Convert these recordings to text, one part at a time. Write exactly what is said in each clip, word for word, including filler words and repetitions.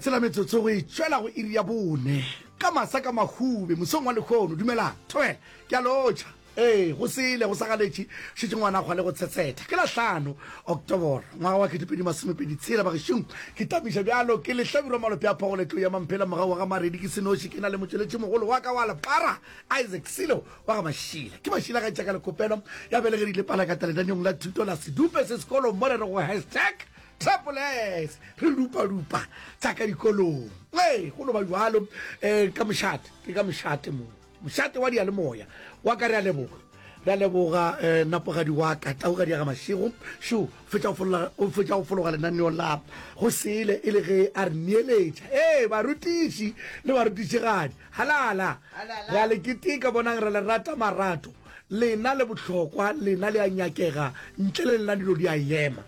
Tshela metsotso go e tšwela go iri ya bone ka masa ka mahube mosong wa lehono. Dumelang, thobela, ke a lotšha. Ee, go sele go sa galetše, šetše ngwana kgwa le go tshetsheta. Ke la hlano Oktoboro, ngwaga wa ketepedi masomepedi tshela. Bagešong, ke tamiša bjalo ke lehlabirwa malope a phogo letlo ya mamphela mogau wa ga Maredi ke senoši ke na le motšweletši mogolo wa ka wa lepara Isaac Silo wa ga Mašila. Ke Mašila ga tšaka lekopelo ya belegedile palakata lenaneong la thuto la Sedupe se sekolong mo re re go hashtag Triple S re dupa-dupa tša ka dikolong. Ee, go no ba bjalo um ka mošate, ke ka mošate mo, mošate wa diyalemoya wa ka. Re a leboga, re a leboga um napogadi wa ka, taugadi ya ga Mašego šo fetša go fologa, o fetša go fologa lenaneo la go sele e le ge a re neeletša. Ee, barutiši le barutišigadi, halala, re a le keteka, bonang re le rata marato, lena le bohlokwa, lena le a nyakega, ntle le lena dilo di a ema.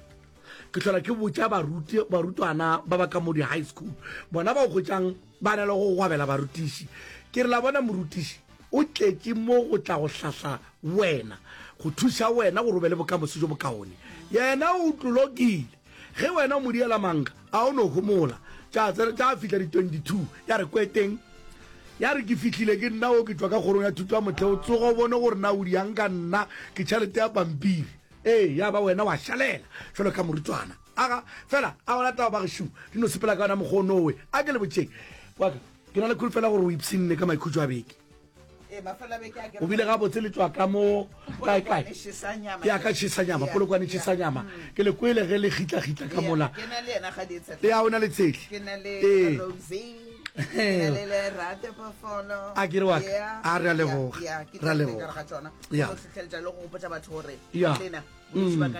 Ke hlola ke botša baruti, barutwana ba ba ka mo di-high school, bona ba o hwetšang ba na le go gwabela barutiši. Ke re la bona morutiši o tletše mo go tla go hlahla wena, go thuša wena gore o be le bokamoso jo bokaone. Yena o tlolokile. Ge wena o mo diela manka, a o no homola. Tša tsena, tša fihla di twenty-two, ya re kweteng. Ya re ke fihlile ke nna o ke tšwa ka kgorong ya thuto ya motheo, tsoga o bone gore na o diang ka nna, ke tšhelete ya pampiri. Ee, ya ba wena wa šalela jalo ka morutwana. Aga, fela, a gona taba bagešo, di no sepela ka yona mokgwa o nowe. A ke le botšeng, wa ka, ke na le kholofelo gore o ipshinne ka maikhutšo a beke. O bile gabotse le tšwa ka mo kae kae. Ya ka tšhesanyama, Polokwane tšhesanyama. Ke le kwele ge le gitla-gitla ka mola. Ya o na le Tshehle. Ee. A ke re wa ka, a re a leboga, re a leboga. Ya. Ya. Mm.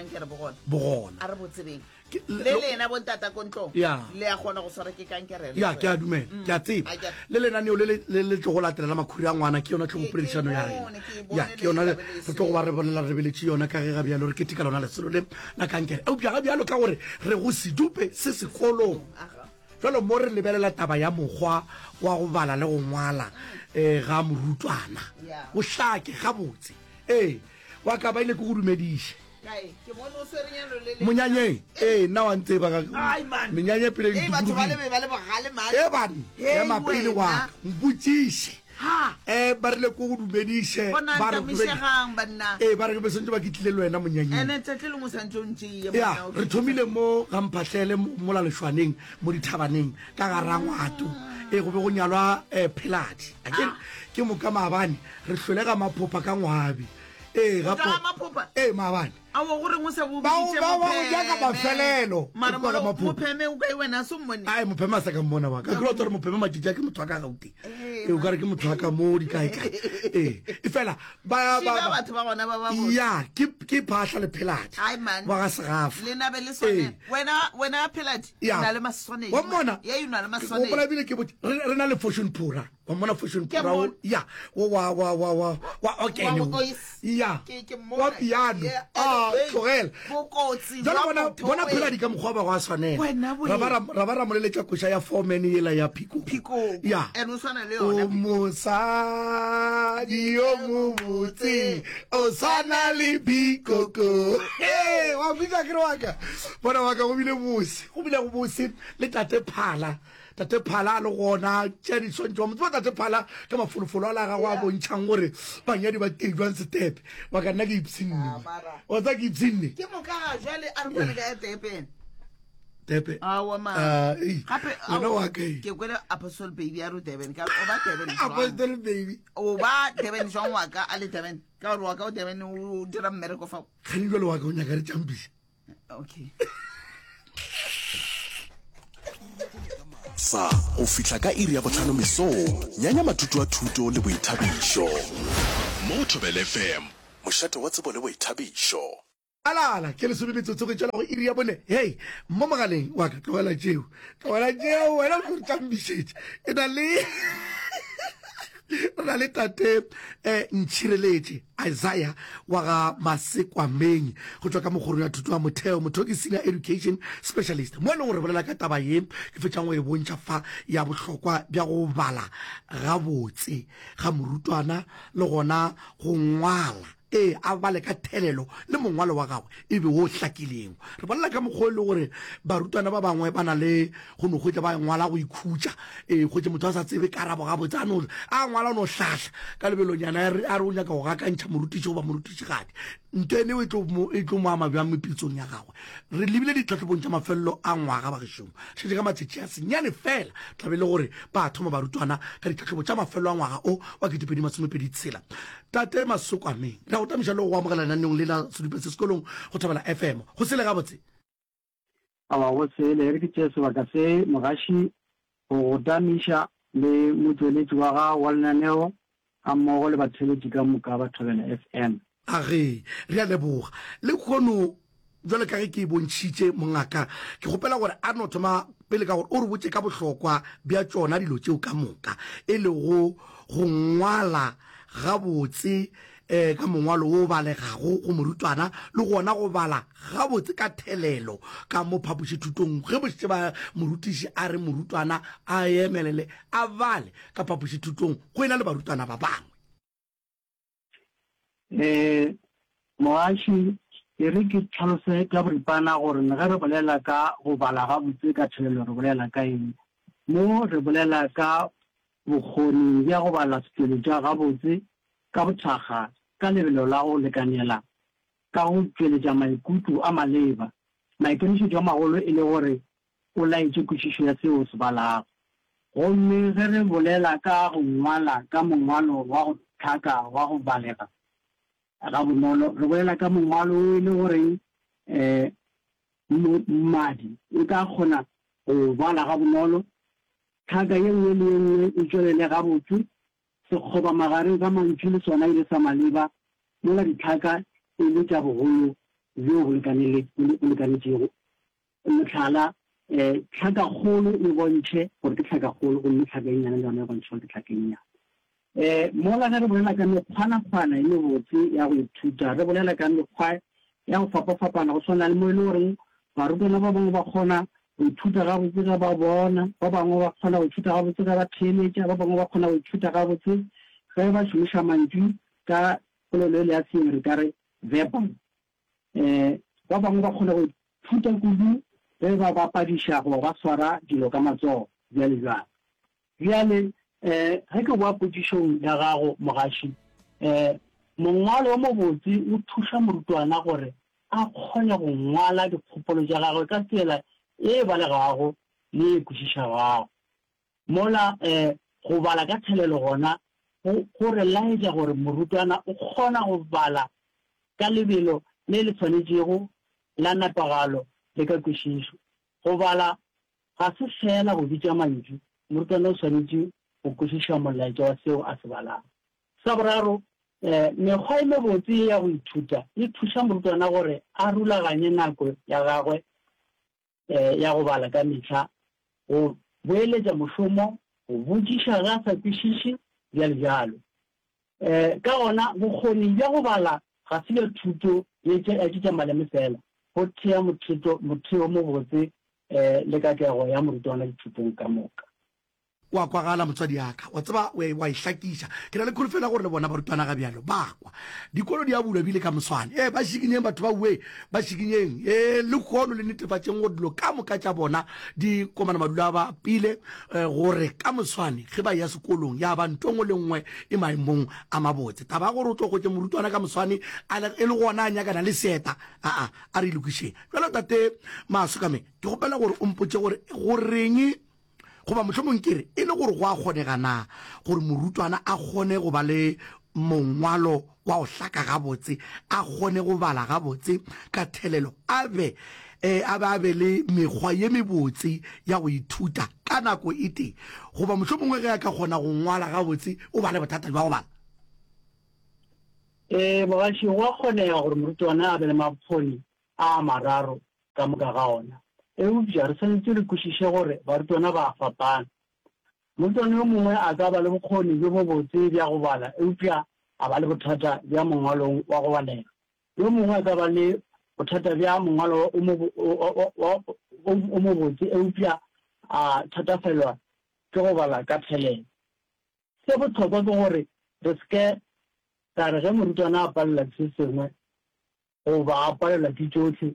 Bogona. A re bo tsebeng. Ke- Le lena bontata ko ntlong. Ya. Le a kgona go swara ke kankere. Ya, ke a dumela, ke a tseba. A ke- Le lenaneo le le- le le tlogo latela la makhuri a ngwana ke yona tlhogopoledišano ya Ke- ke rena. bone, ke e bone Ya, ke yona le re tlabe le e re tlo go ba re bolela re lebeletše yona ka ge ga bjalo re keteka lona lesolo le la kankere. Eupša ga bjalo ka gore re go sedupe se sekolong. Aga. Jalo mo re lebelela taba ya mokgwa wa go bala le go ngwala eh, ga morutwana. Ya. O hlake gabotse. Ee, wa ka ba ile ke go dumediše. Kae? Ke bone o swere nyalo le le. Monyanyeng, ee, nna wa ntseba ka Ai, man. menyanya pele Ei, batho ba le be ba le bogale man. E ban, Hei, ema pele wa wena. ka, mpotšiše. Ha. Eh, ba rile ko go dumediše, Bona ba re ntamišegang banna. Ee, ba re ke be swantše ba ke tlile le wena monyanyeng. Ene tšatši lengwe o santše o ntšeye Ya, monna, o re thomile mo ga Mphahlele mo mola Lešwaneng mo dithabaneng ka ga Rangwato. Ee, go be go nyalwa eh, Pheladi. A ke ke moka maabane re hlwele ga Maphopha ka Ngwabi. Ee, O ga tšwa ga Maphopha? Ee, maabane. Aowa, go reng o sa bo Ba o- biditše ba- ba o Mopheme? nyaka mafelelo. Mara Ke kwa ga mola Maphopha. Mopheme o kae wena a se o mmone? Ai, Mopheme a sa ka mmona wa ka. Ke rata gore Mopheme matšatši a ke motho wa ka Gauteng. Ee, Ee, o ka re ke motho wa ka mo dikaekae. Ee, e fela ba Šiba ba ba- batho ba gona ba ba botse. Ya, ke ke Phahla le Pheladi. Ai, man. Wa ga Segafa. Le na be le swane. Ee. Wena wena Pheladi, Ya. o na le maswanedi. Wa mmona? Yeah, you na le Ke maswanedi. gopola ebile ke botse re re na le Fortune Phura. Wa mmona Fortune Ke Phura o mmona. ya o wa wa wa wa wa okene Wa o. go ois. Ya. Ke ke mmona. Wa piano. Yeah, Ah, hey, tlogela. Bokotsi Jwale jwa bona motho bona we. Pheladi ka mokgwa wa ba go a swanela. Wena bo Ra ba eng? ra ra ba ra moleletša koša ya foreman yela ya Phikoko. Phikoko. Ya. And o swana le O yona. mosadi yo mobotse o swana le Phikoko. Hey, wa kwisa ke re wa ka. Bona wa ka go bile bose. Go bile go bose le tate Phala. Tate Phala a le gona tša diswantšho. Wa mo tseba tate Phala ka mafolofolo a la gagwe a bontšhang gore banyadi ba tee jwang setepe. Wa ka nna ke ipshinne. Ah, mara. Wa tseba ke ipshinne. Ke moka ga jwale a re kwane ka ya Durban. Tepe. Aowa ma. Ah, ei. Gape Wena aowa, wa ka ei. ke kwele Apostle Baby a re o Durban ka o ba Durban jwang? Apostle Baby. O ba Durban jwang wa ka a le Durban? Ka gore wa ka o Durban o dira mmereko fao. Kgane jwale wa ka o nyaka re tšampiša. Okay. Sa go fihla ka iri ya bohlano mesong, nyanya matutu a thuto le boithabišo. Mo Thobela F M, mošate wa tsebo le boithabišo. Alala, ke lesome metsotso go tšwela go iri ya bone. Hei, mo mogaleng wa ka, tlogela tšeo. Tlogela tšeo, wena o tlo re tšambišetša. E na le re na le tate eh, Ntšhireletše Isaiah wa ga Masekwameng go tšwa ka mokgorong ya thuto ya motheo, motho ke senior education specialist mo e leng gore bolela ka taba ye ke fetšang go e bontšha fa ya bohlokwa bja go bala gabotse ga morutwana le gona go ngwala. Ee, a bale ka thelelo le mongwalo wa gagwe e be wo hlakilego. Re bolela ka mokgwa o e le gore barutwana ba bangwe ba na le go no hwetša ba ngwala go ikhutša. Ee, hwetše motho a sa tsebe karabo gabotse, a no a ngwala o no hlahla ka lebelonyana a re a re o nyaka go gakantšha morutiši goba morutišigadi. Nto ene e tlo mo e tlo mo ama bjang mepitsong ya gagwe? Re lebile ditlhahlobong tša mafelelo a ngwaga bagešong. Šetše ka matšatši a senyane fela tla be e le gore ba thoma barutwana ka ditlhahlobo tša mafelelo a ngwaga o wa ketepedi masomepedi tshela. Tate Masokwameng, re a go tamiša le go go amogela lenaneong le la Sedupe se Sekolong go Thobela F M. Go sele gabotse? Aowa, go sele. E re ke tšee sebaka se, mogaši, go go tamiša le motšweletši wa gago wa lenaneo gammogo le batheeletši ka moka ba Thobela F M. Age, re a leboga. Lehono, bjalo ka ge ke e bontšhitše mongaka, ke kgopela gore a no thoma pele ka gore o re botše ka bohlokwa bja tšona dilo tšeo ka moka, e lego go ngwala gabotse um ka mongwalo wo o balegago go morutwana le gona go bala gabotse ka thelelo ka mo phapošithutong ge bošetše ba morutiši a re morutwana a emelele a bale ka phapošithutong go e na le barutwana ba bangwe. Ee, moaši, e re ke hlalose ka boripana gore ge re bolela ka go bala gabotse ka thelelo re bolela ka eng. Mo re bolela ka bokgoni bja go bala setšweletšwa gabotse ka bothakga ka lebelo la go lekanela ka go tšweletša maikutlo a maleba, maikemišetšo a magolo e le gore o laetše kwešišo ya seo o se balago. Gomme ge re bolela ka go ngwala ka mongwalo wa go hlaka wa go balega gabonolo, re bolela ka mongwalo wo e le goreng um mmadi o tla kgona go o bala gabonolo, tlhaka ye nngwe le ye nngwe e tšwelele gabotse, sekgoba magareng ga mantšu le sona e le sa maleba, mola ditlhaka e le tša bogolo bjo bo lekanetšego. Mohlala, tlhakakgolo e bontšhe gore ke tlhakakgolo gomme tlhaka e nnyane le yona e bontšhe gore ke tlhaka e nnyane. Mola ge re bolela ka mekgwanakgwana e mebotse ya go ithuta, re bolela ka mekgwa ya go fapafapana go swana le mo e le goreng barutwana ba bangwe ba kgona go ithuta gabotse ge ba bona, ba bangwe ba kgona go ithuta gabotse ge ba theeletša, ba bangwe ba kgona go ithuta gabotse ge ba šomiša mantšu ka polelo ele ya seeng re ka re verbal. Um ba bangwe ba kgona go ithuta kudu ge ba bapadiša goba ba swara dilo ka matsogo, bjale bjalo. Bjale, um ge ke boa potšišong ya gago, mogaši, um mongwalo o mobotse o thuša morutwana gore a kgone go ngwala dikgopolo tša gagwe ka tsela e balegago le e kwešišegago. Mola um go bala ka thelelo gona go go re laetša gore morutwana o kgona go bala ka lebelo le le swanetšego la nepagalo le ka kwešišo. Go bala ga se feela go bitša mantšu, morutwana o swanetše go kwešiša molaetša wa seo a se balago. Sa boraro, um mekgwa e mebotse ye ya go ithuta e thuša morutwana gore a rulaganye nako ya gagwe um ya go bala ka mehla, go boeletša mošomo, go botšiša ge a sa kwešiše, bjalo bjalo. Um ka gona, bokgoni bja go bala ga se bja thuto ye ya tše tša maleme fela, bo thea motheto motheo mobotse um le katlego ya morutwana dithutong ka moka. Wa kwagala motswadi ya ka, wa tseba o wa e hlakiša. Ke na le kholofelo ya gore le bona barutwana ga bjalo ba kwa. Dikolo di a bulwa ebile ka moswane. Ee, ba šikinyeng batho ba uwe, ba šikinyeng. Ee, lehono le netefatšeng gore dilo ka moka tša bona di komana madulo a ba pile, gore ka moswane ge ba eya sekolong ya ba nto nngwe le nngwe e maemong a mabotse. Taba ya gore o tlo hwetše morutwana ka moswane a le, e le gona a nyakana le seeta, aa, a re e lokišeng. Bjalo Tate Masokame, ke kgopela gore o mpotše gore goreng Goba mohlomong ke re, e le gore go a kgonega na gore morutwana a kgone go ba le mongwalo wa go hlaka gabotse, a kgone go bala gabotse ka thelelo, a be a be a be le mekgwa ye mebotse ya go ithuta ka nako e tee? Goba mohlomongwe ge a ka kgona go ngwala gabotse, o ba le bothata bja go bala? Ee, mogaši, go a kgonega gore morutwana a be le mabokgoni a a mararo ka moka ga ona. Eupša re swanetše re kwešiše gore barutwana ba a fapana. Morutwana yo mongwe a ka ba le bokgoni bjo bobotse bja go bala eupša a ba le bothata bja mongwalong wa go balega. Yo mongwe a ka ba le bothata bja mongwalo o mobotse eupša a thatafelwa ke go bala ka thelelo. Se bohlokwa ke gore re se ke Ra re ge morutwana a palelwa ke se sengwe goba a palelwa ke tšohle,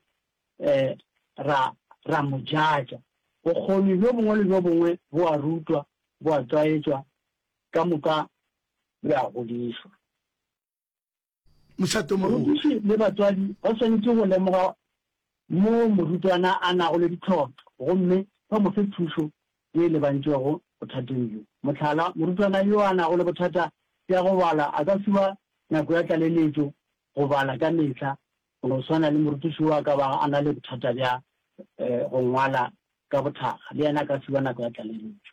um ra, ra mo jatša. Bokgoni bjo bongwe le bjo bongwe bo a rutwa, bo a tlwaetšwa, ka moka bo a godišwa. Mošate o mogolo. Morutiši le batswadi ba swanetše go lemoga moo morutwana a nago le ditlhotlo gomme ba mo fe thušo ye e lebantšwego bothateng bjo. Mohlala, morutwana yo a nago le bothata bja go bala a ka fiwa nako ya tlaleletšo go bala ka mehla, go no swana le morutiši yo a ka bago a na le bothata bja go ngwala ka bothakga, le yena a ka fiwa nako ya tlaleletšo.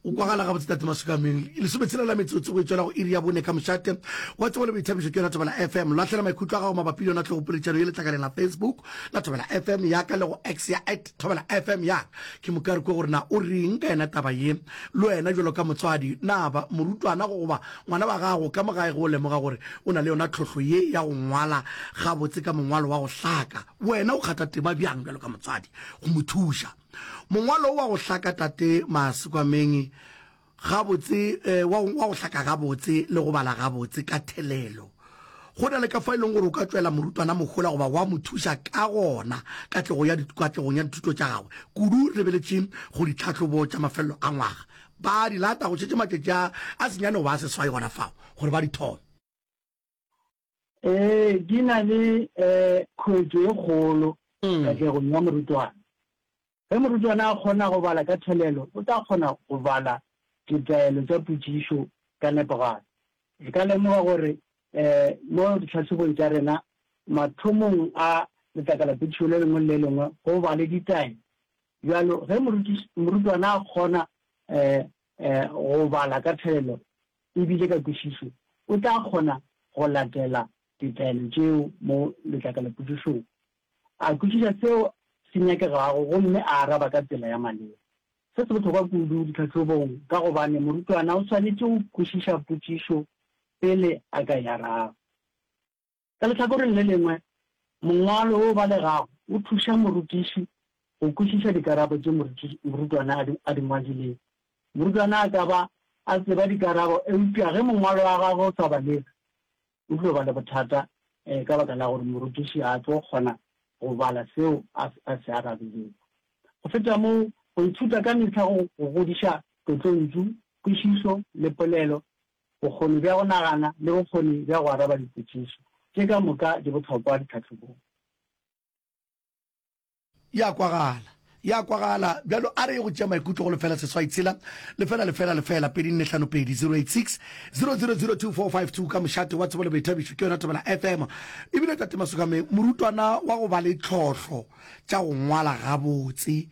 O kwagala gabotse Tate Masukameng. Lesometshela la metsotso go e tšwela go iri ya bone ka mošate wa tsebo le boithabišo ke yona Thobela F M. Lahlela maikutlo a gago mabapi le yona tlhogopoledišano ye letlakaleng la Facebook la Thobela F M ya ka le go X ya at Thobela F M ya ka. Ke moka re kwe gore na o reng ka yona taba ye. Le wena bjalo ka motswadi, na ba morutwana goba ngwana wa gago ka mo gae ge o lemoga gore o na le yona tlhohlo ye ya go ngwala gabotse ka mongwalo wa go hlaka, wena o kgatha tema bjang bjalo ka motswadi go mo thuša? Mongwalo wa go hlaka Tate Masekwameng gabotse, wa, wa go hlaka gabotse le go bala gabotse ka thelelo. Go na le ka fa e leng gore o ka tšwela morutwana mohola goba wa mo thuša ka gona katlego ya, katlegong ya dithuto tša gagwe, kudu re lebeletše go ditlhahlobo tša mafelelo a ngwaga. Ba di lata go šetše matšatši a, a senyane goba a seswai gona fao gore ba di thome. Ee, di na le um khuetšo e kgolo katlegong ya morutwana. Ge morutwana a kgona go bala ka thelelo, o tla kgona go bala ditaelo tša potšišo ka nepagalo. Re ka lemoga gore mo ditlhahlobong tša rena, mathomong a letlakalapotšišo le lengwe le le lengwe go ba le ditaelo. Bjalo, ge morutwana a kgona go bala ka thelelo e bile ka kwešišo, o tla kgona go latela ditaelo tšeo mo letlakalapotšišong, a kwešiša seo se nyakegago gomme a araba ka tsela ya maleba. Se se bohlokwa kudu ditlhahlobong ka gobane morutwana o swanetše go kwešiša potšišo pele a ka e araba. Ka lehlakoreng le lengwe, mongwalo wo o balegago o thuša morutiši go kwešiša dikarabo tše morutwana a di ngwadilego. Morutwana a ka ba a tseba dikarabo eupša ge mongwalo wa gagwe o sa balege, o tlo ba le bothata ka baka la gore morutiši ga a tlo kgona go bala seo a se arabilego. Go feta moo, go ithuta ka mehla go godiša tlotlontšu, kwešišo le polelo, bokgoni bja go nagana le bokgoni bja go araba dipotšišo. Tše ka moka di bohlokwa ditlhahlobong. Ya kwagala. Ya kwagala. Bjalo a re ye go tšea maikutlo go lefela seswai tshela lefela lefela lefela pedi nne hlano pedi zero eight six zero zero zero two four five two ka mošate wa tsebo le boithabišo ke yona Thobela F M. Ebile Tate Masokame morutwana wa go ba le tlhohlo tša go ngwala gabotse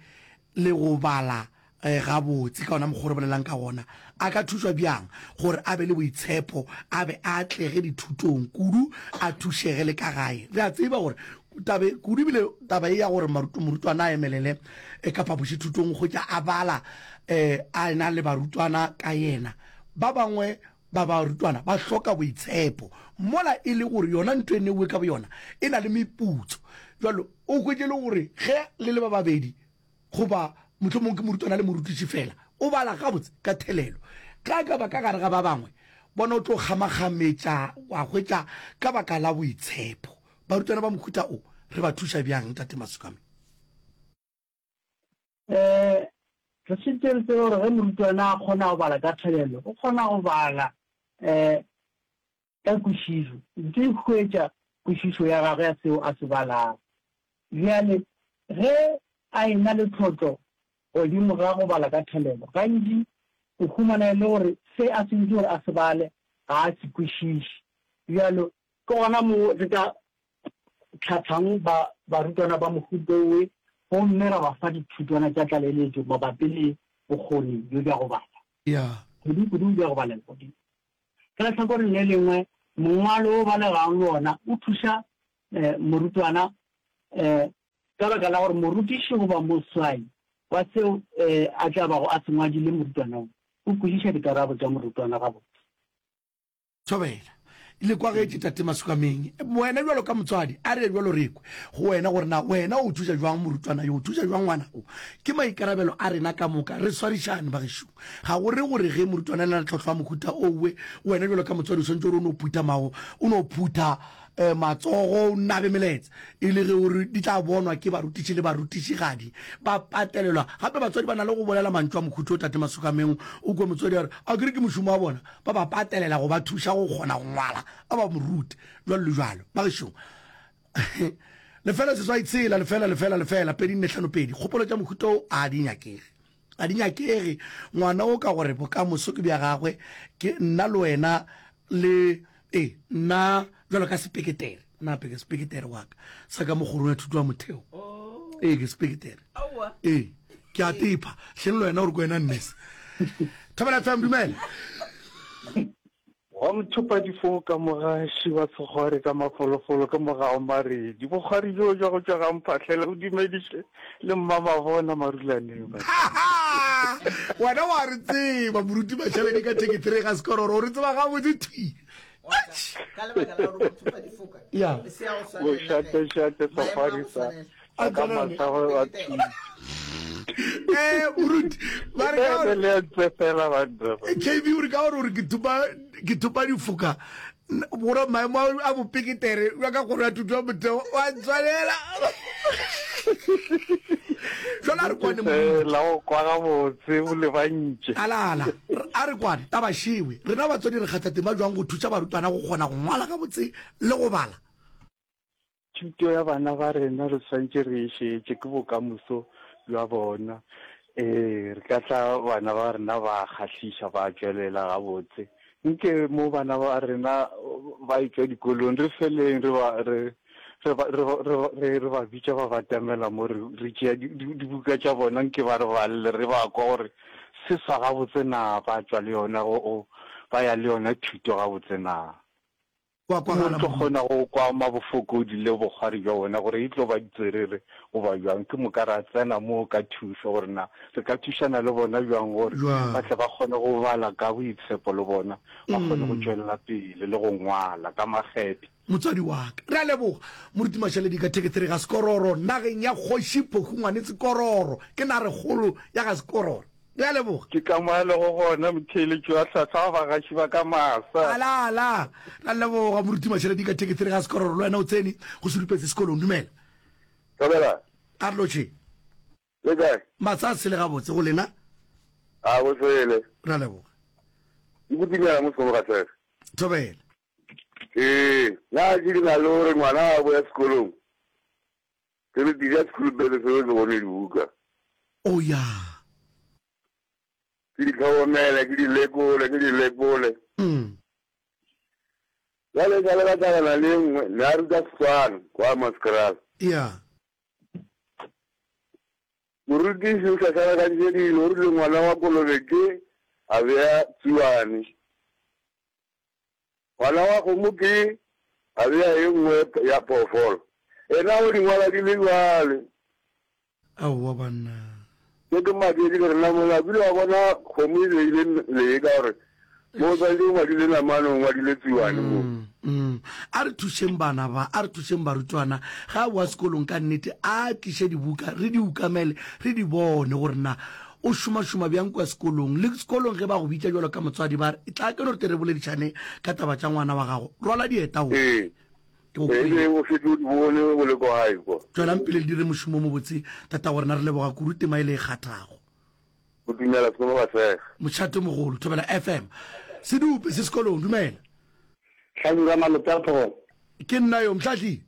le go bala gabotse ka ona mokgwa o re bolelang ka gona, a ka thušwa bjang gore a be le boitshepo, a be a atlege dithutong kudu, a thušege le ka gae? Re a tseba gore tabe kudu ebile taba e ya gore morutwana a emelele eh, ka phapošithutong go tša a bala eh, a ena le barutwana ka yena. Ba bangwe ba barutwana ba hloka boitshepo mola e le gore yona ntho e neuwe ka boyona e na le meputso. Jalo o hwetše le gore ge le le ba babedi goba mohlomong ke morutwana le morutiši fela, o bala gabotse ka thelelo. Ge a ka ba ka gare ga ba bangwe, bona o tlo kgamakgametša wa hwetša ka baka la boitshepo. Barutwana ba mohuta o re ba thuša bjang, Tate Masukame? Um re šetše re tsebe gore ge morutwana a kgona go bala ka thelelo, o kgona go bala um ka kwešišo, ntse e hwetša kwešišo ya gagwe ya seo a se balago. Bjale ge a ena le tlhotlo godimo ga go bala ka thelelo, gantši o humana e le gore se a sentše gore a se bale ga a se kwešiše. Bjalo ke gona mo re ka tlhatlhang ba barutwana ba mohuta owe gomme ra ba fa dithutwana tša tlaleletšo mabapi le bokgoni bjo bja go bala. Ya. Kudu-kudu bja go balela godimo. Ka lehlakoreng le lengwe, mongwalo o balegang le wona o thuša eh, morutwana eh, ka baka la gore morutiši goba moswai wa seo eh, a tla bago a se ngwadile morutwana o, o kwešiša dikarabo tša morutwana gabotse. Thobela. Le kwagetše Tate Masukameng. Wena bjalo ka motswadi, a re ye bjalo re kwe go wena gore na wena o thuša bjang morutwana yo, o thuša bjang ngwana o. Ke maikarabelo a rena ka moka, re swarišane bagešo. Ga go re gore ge morutwana a na le tlhohlo ya mohuta owe, wena bjalo ka motswadi o swanetše gore o no phutha mago, o no phutha matsogo, o nabe meletse, e le ge o re di tla bonwa ke barutiši le barutišigadi. Ba patelelwa. Gape batswadi ba na le go bolela mantšu a mohuta o Tate Masukameng. O kwe motswadi a re, Akere ke mošomo wa bona. Ba ba patelela go ba thuša go kgona go ngwala, ba ba mo rute, bjalo le bjalo. Bagešo, lefela seswai tshela, lefela, lefela, lefela, pedi nne hlano pedi. Kgopolo tša mohuta wo a di nyakege. A di nyakege. Ngwana wo ka gore bokamoso ke bja gagwe, ke nna le wena le, ee, nna bjalo ka sepeketere. Nna ke sepeketere wa ka, sa ka mo kgorong ya thuto ya motheo. Ee, ke sepeketere. Ee, ke a tepha. Hleng le wena o re ke wena nurse. Thobela F M, dumela. Wa mothopa difoka mogaši wa sekgwari ka mafolofolo ke mogao Maredi. Bokgwari bjo bja go tšwa ga Mphahlele o dumediše le Mmamabona Marulaneng. Wena wa re tseba moruti Mashaledi ka thirty three ga Sekororo, o re tseba gabotse thwi. Ka lebaka la gore mothopa difoka Ya. se ya go swanela ge. Bošate-šate Maemo a sekgwari go sa swanela. A ka tsenane. masago a thwi. Eh, moruti, ba re ka gore Le a ntsefela banna ba. K B o re ka gore o re ke thopa, ke thopa difoka. Gore maemo a, a bopeketere bja ka kgoro ya thuto ya motheo wa ntshwanela. Jwale a re kwane moruti. Fela go kwa gabotse o lebantše. Alala, a re kwane taba šewe. Rena batswadi re kgatha tema jwang go thuša barutwana go kgona go ngwala gabotse le go bala? Thuto ya bana ba rena re swanetše re e šetše, ke bokamoso bja bona. Ee, re ka tla bana ba rena ba kgahliša, ba tšwelela gabotse. Nke mo bana ba rena ba etšwa dikolong, re feleng re ba, re, re ba, re ba, re ba, re, re ba bitša ba batamela mo, re, re tšea di, di, dibuka tša bona, nke ba re balle, re ba kwa gore se swa gabotse na, ba tšwa le yona go, go, ba ya le yona thuto gabotse na. Wa Mo re kwagala tlo moruti. kgona go kwa mabofokodi le bokgwari bja bona gore e tlo ba ditswerere goba bjang. Ke moka ra tsena moo ka thušo gore na re ka thušana le bona bjang gore ba Bjang. tle ba kgone go bala ka boitshepo le bona ba kgone go Mm. tšwelela pele le go ngwala ka makgethe. Motswadi wa ka. Re a leboga. Moruti Mashaledi ka thekethere ga Sekororo, nageng ya Kgoši Phokhu Ngwane Sekororo. Ke narekgolo ya ga Sekororo. Re a leboga. Ke ka mo a lego gona motheeletši wa hlwahlwa wa bagaši ba ka masa. Ala, ala. Re a leboga Moruti Mashaledi ka thekethere ga Sekororo. Le wena o tsene go Sedupetse sekolong. Dumela. Thobela. A re lotšheng. Le kae? Matsa a sele gabotse go lena. A go sele. Re a leboga. Ke botimela mo sekolo ga sege. Thobela. Ee, na ke di na le gore ngwana a boya sekolong. Ke re dija school bag se ke bone dibuka. Oh ya. Ke di tlhokomele, ke di lekole, ke di lekole. Mm. Jwale ka le ka tlhakana le nngwe, ne a ruta Setswana kwa Maskeral. Ya. Morutiši o hlahlakantše dilo, o rile ngwana wa kolobe ke a bea tsuane. Ngwana wa kgomo ke a bea e nngwe ya phoofolo. Ena o di ngwala di le jwale. Aowa banna. Ke ke maketše ke re na mola kile wa bona kgomo e beile lee ka gore mo o swanetše o ngwadile namane o ngwadile tsuane mo. Mm, mm. A re thušeng bana ba, a re thušeng barutwana. Ga a boa sekolong ka nnete a tliše dibuka re di ukamele re di bone gore na o šomašoma bjang kua sekolong. Le sekolong ge ba go bitša bjalo ka motswadi ba re tla ke no re te re boledišane ka taba tša ngwana wa gago. Rwala dieta o. Ee. Ke go Ee, kwele. o šetše o di bone o le ko gae kwa. Tšwelang pele le dire mošomo o mobotse, tatago rena re leboga kudu tema e le e kgathago. Go dumela sekolo ba sega. Mošate mogolo, Thobela F M. Sedupe se sekolong, dumela. Hlabirwa malope a phogolo. Ke nna yo, Mhlahli.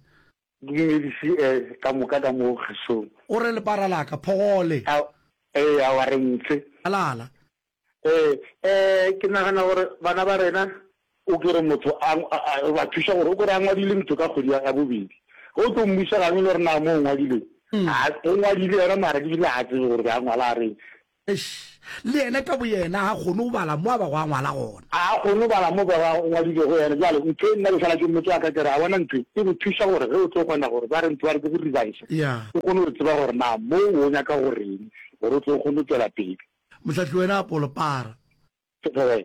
Dumedise, eh, ka moka ka mo kgašong. O re lepara la ka, phogole. A, ee, aowa re ntse. Alala. Ee, eh, ke nagana gore bana ba rena, o kere motho a, a, a, ba thuša gore o kere a ngwadile ntho ka kgwedi ya, ya bobedi. Ge o tlo mmuša gangwe le gore na mo o ngwadile, a, o ngwadile yona mara ebile ga a tsebe gore be a ngwala a reng. Eish, le yena ka boyena ga a kgone go bala mo a bago a ngwala gona. A kgone go bala mo ba ba ngwadilego yena. Bjale ntho e nna ke sala ke mmotša wa ka ke re, a bona ntho e, e go thuša gore ge o tlo kgona gore ba re ntho ba re ke go revise, Yeah. o kgone go tseba gore na mo o nyaka go reng gore o tlo kgone go tšwela pele. Mohlahli wena Apollo para. Thobela.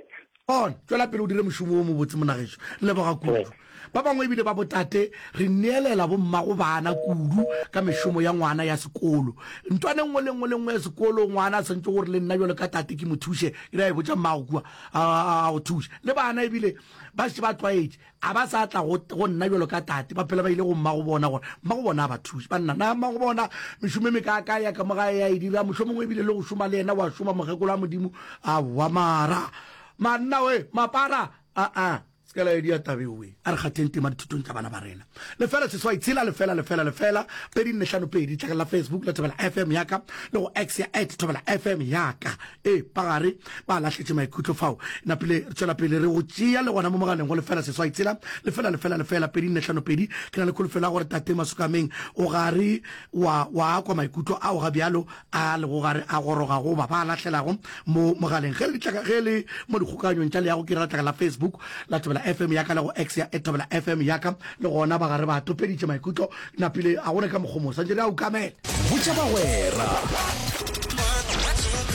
Gona, tšwela pele o dire mošomo wo mobotse, monagešo. Re leboga kudu. Ba bangwe ebile ba botate re neelela bommago bana kudu ka mešomo ya ngwana ya sekolo. Ntwana e nngwe le nngwe le nngwe ya sekolo ngwana a swanetše gore le nna bjalo ka tate ke mo thuše, ke re a e botša mmago kua a, a go thuše. Le bana ebile ba šetše ba tlwaetše. A ba sa tla go, go nna bjalo ka tate, ba phela ba ile go mmago bona gore mmago bona a ba thuše. Banna, na mmago bona mešomo e mekaaka ya ka mo gae ya e dira, mohlomongwe ebile le go šoma le yena wa šoma, mokgekolo wa Modimo, aowa mara, manna we, mapara, aa, se ka la e dia taba eo we. A re kgatheng tema dithutong tša bana ba rena. Lefela seswai tshela lefela lefela lefela pedi nne hlano pedi, tlakala la Facebook la Thobela F M ya ka le go X ya at Thobela F M ya ka. Ee, ba gare ba lahletše maikutlo fao. Napile re tšwela pele re go tšea le gona mo mogaleng go lefela seswai tshela lefela lefela lefela pedi nne hlano pedi. Ke na le kholofelo ya gore Tate Masokameng o gare wa wa kwa maikutlo ao ga bjalo a lego gare a goroga goba ba a lahlelago mo mogaleng. Ge le ditlaka ge le mo dikgokaganyong tša leago ke ra letlaka la Facebook la Thobela F M ya ka le go X ya at Thobela F M ya ka le gona ba gare ba topeditše maikutlo. Napile a gona ka mokgo mo swantše re a ukamele. Botša bagwera,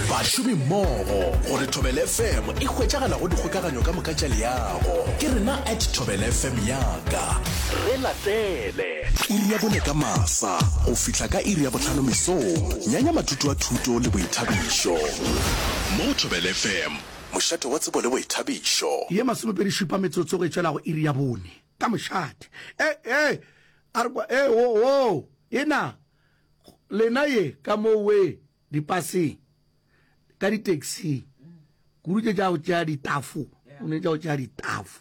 bašomimmogo gore Thobela F M e hwetšagala go dikgokaganyo ka moka tša leago. Ke rena at Thobela F M ya ka. Re latele. Iri ya bone ka masa go fihla ka iri ya bohlano mesong. Nyanya matutu a thuto le boithabišo. Mo Thobela F M, mošate wa tsebo le boithabišo. Ye masomepedi šupa metsotso go e tšwela go iri ya bone ka mošate. E, e, a re kwa, e, wo, wo, e na, lena ye ka mo we dipaseng, ka di-taxing, kudu tše tša go tšea ditafo, o ne tša go tšea ditafo.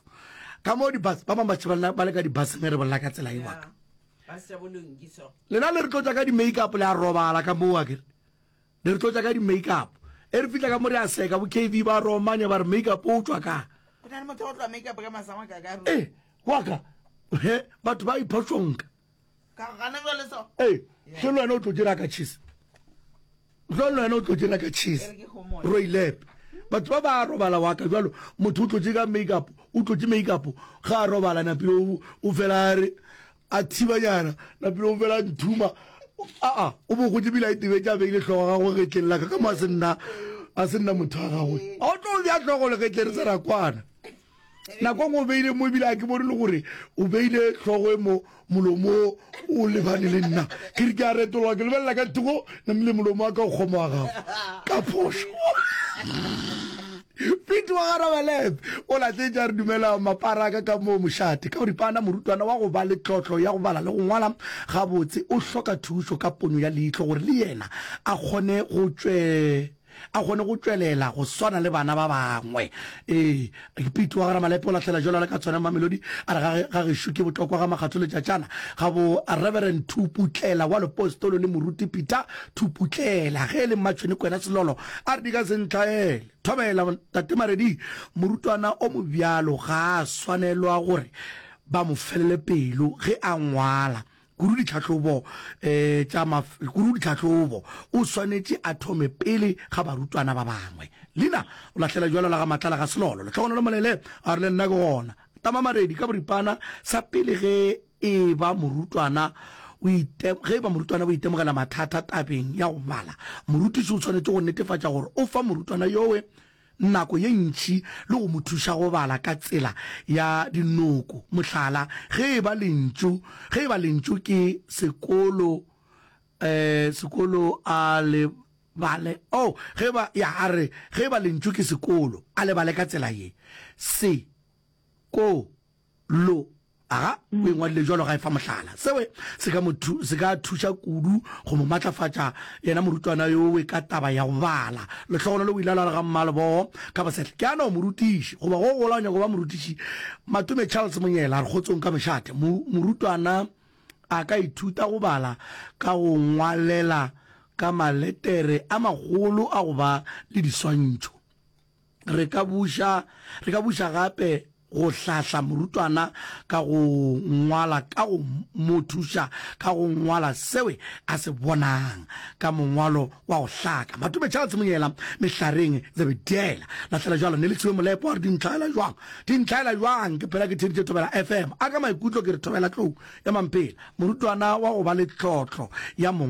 Ka mo di-bus, ba bangwe ba tšhaba ba le ka di-buseng ge re bolela ka tsela ye wa ka. Lena le re tlotša ka di-makeup le a robala ka moo akere. Le re tlotša ka di-makeup. E re fihla ka mo re a seka, bo K V ba romanya ba re makeup o tšwa ka. Go na le motho wa go tloa makeup ka masama ka ka. E, wa ka. He, batho ba iphošonka. Ka gana jwale so. Ee, hle le wena o tlo dira ka cheese. Hle le wena o tlo dira ka cheese. Roilepe. Batho ba ba robala wa ka jwalo, motho o tlotše ka makeup, o tlotše makeup, ga a robala napile o, o fela a re a thibanyana, napile o fela a nthuma. Aa, o bo gotše bile a itebetše a beile hlogo ya gagwe getleng la ka, ka mo a se nna, a se nna motho wa gagwe. A o tlo bea hlogo legetleng re se ra kwana. Nako nngwe o beile mo ebile a ke bone le gore o beile hlogo e mo molomo o lebane le nna. Ke re ke a retologa ke lebelela ka thoko namile molomo wa ka o kgoma wa gago ka phošo. Pete wa ga Rabalep o lahletše a re dumela maparaka ka moo mošate. Ka boripana morutwana wa go ba le tlotlo ya go bala le go ngwala gabotse o hloka thušo ka ponyo ya leihlo gore le yena a kgone go tšwe a kgone go tšwelela go swana le bana ba bangwe. Ee, Pete wa ga Ramalepe o lahlela jwalo le ka tshwana Mamelodi a re ga, ga gešo ke botlokwa ga Makgatho Letšatšana ga bo Reverend Thuputlela wa Lepostolo le Moruti Peter Thuputlela ge e le Mmatšhwene Kwena Selolo a re di ka se ntlhaele. Thobela, Tate Maredi, morutwana o mobjalo ga a swanelwa gore ba mo felele pelo ge a ngwala. Kudu ditlhahlobo tša kudu ditlhahlobo, o swanetše a thome pele ga barutwana ba bangwe. Lina o lahlela bjalo la ga Matlala ga Selolo. Lehlogonolo Molele a re le nna ke gona. Tama Maredi ka boripana sa pele ge e ba morutwana o ite ge e ba morutwana o itemogela mathata tabeng ya go bala, morutiši o swanetše go netefatša gore o fa morutwana yowe nako ye ntši le go mo thuša go bala ka tsela ya dinoko. Mohlala, ge e ba lentšu, ge e ba lentšu ke sekolo, eh, sekolo a le bale, oh, ge ba, ya, a re, ge e ba lentšu ke sekolo, a le bale ka tsela ye, se, ko, lo. Aga, o e ngwadile bjalo ga e fa mohlala. Sewe se ka mo thu, se ka thuša kudu go mo matlafatša yena morutwana yowe ka taba ya go bala. Lehlogonolo o ile a lwala ga mmalebogo ka bosehle. Ke a no morutiši, goba go gola o nyaka go ba morutiši. Matome Charles Monyela a re kgotsong ka mošate. Mo, morutwana a ka ithuta go bala ka go ngwalela ka maletere a magolo a go ba le diswantšho. Re ka buša, re ka buša gape go hlahla morutwana ka go ngwala ka go mo thuša ka go ngwala seo a se bonang ka mongwalo wa go hlaka. Matome Charles Monyela, Mehlareng, Zebediela. Lahlela jwalo, Nelisiwe Molepo a re di ntlhaela jwang? Di ntlhaela jwang? Ke phela ke theeditše Thobela F M. A ka maikutlo ke re Thobela Tlou ya Mampela, morutwana wa go ba le tlotlo ya mongwalo.